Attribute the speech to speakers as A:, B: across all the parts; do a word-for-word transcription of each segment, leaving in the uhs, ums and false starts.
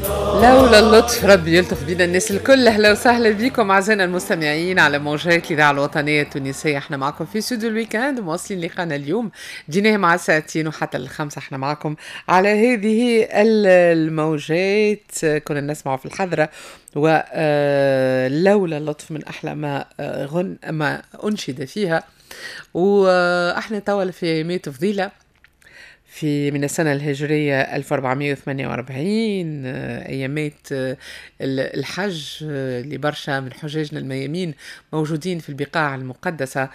A: لولا اللطف، ربي يلطف بينا الناس الكل. اهلا وسهلا بكم اعزائنا المستمعين على موجات الاذاعة الوطنية التونسيه. احنا معكم في استوديو ال week-end، مواصلين لقانا اليوم بديناه مع ساعتين وحتى الخمسة احنا معكم على هذه الموجات. كنا نسمع في الحضرة ولولا اللطف من احلى ما غن ما انشد فيها. واحنا توا في ايامات فضيلة في من السنة الهجرية ألف وأربعمية وثمانية وأربعين، أيامات الحج اللي برشا من حجاجنا الميامين موجودين في البقاع المقدسة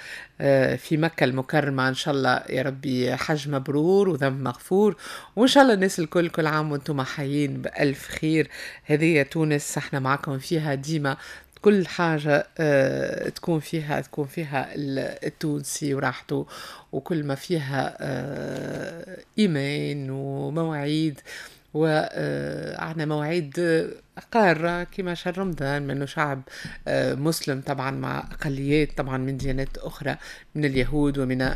A: في مكة المكرمة. إن شاء الله يا ربي حج مبرور وذنب مغفور، وإن شاء الله الناس الكل كل عام وانتم حيين بألف خير. هذه تونس، احنا معكم فيها ديما، كل حاجة آه، تكون فيها تكون فيها التونسي وراحته، وكل ما فيها آه، إيمان ومواعيد، وعندنا مواعيد قارة كما شهر رمضان، منه شعب آه، مسلم طبعا مع أقليات طبعا من ديانات أخرى، من اليهود ومن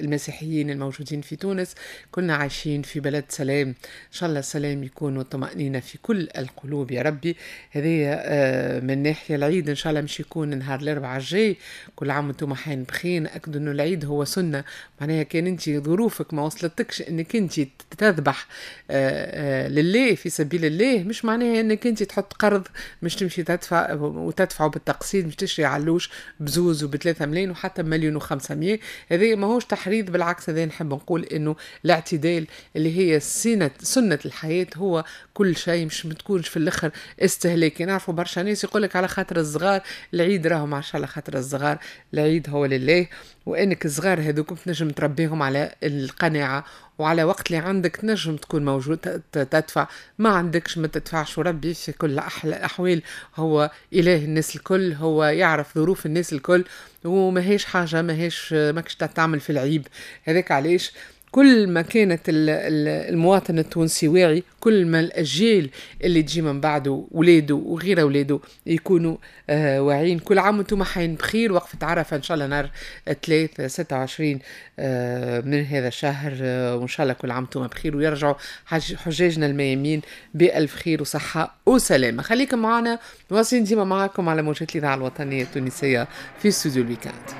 A: المسيحيين الموجودين في تونس. كنا عايشين في بلد سلام، إن شاء الله السلام يكون والطمأنينة في كل القلوب يا ربي. هذه آه، من ناحية العيد، إن شاء الله مش يكون نهار الأربعاء الجاي. كل عام وانتم حين بخير. أكد أنه العيد هو سنة، معناها كان أنت ظروفك ما وصلتكش أنك أنت تذبح آه، لله في سبيل الله، مش معناها انك انت تحط قرض مش تمشي تدفع وتدفعه بالتقسيط، مش تشري علوش بزوز وبثلاثة ملايين وحتى مليون وخمسمية. هذا ماهوش تحريض، بالعكس، هذا نحب نقول انه الاعتدال اللي هي سنة سنة الحياة هو كل شيء، مش بتكونش في الاخر استهلاكي. نعرفوا برشا ناس يقول لك على خاطر الصغار العيد، راهو ما على خاطر الصغار، العيد هو لله، وانك الصغار هذوك تنجم تربيهم على القناعة وعلى وقت اللي عندك تنجم تكون موجود تدفع، ما عندكش ما تدفعش. وربي في كل الأحوال هو إله الناس الكل، هو يعرف ظروف الناس الكل، وما هيش حاجة ما هيش ماكش تعمل في العيب. هذاك علاش كل ما كانت المواطن التونسي واعي، كل ما الأجيال اللي تجي من بعده، ولاده وغير ولاده، يكونوا آه واعيين. كل عام وانتم حين بخير. وقفة عرفة إن شاء الله نهار ثلاث ستة وعشرين آه من هذا الشهر، آه وإن شاء الله كل عام وانتم بخير ويرجعوا حجاجنا الميامين بألف خير وصحة وسلامة. خليكم معنا، واصلين ديما معكم على موجات الإذاعة الوطنية التونسية في استوديو ال week-end.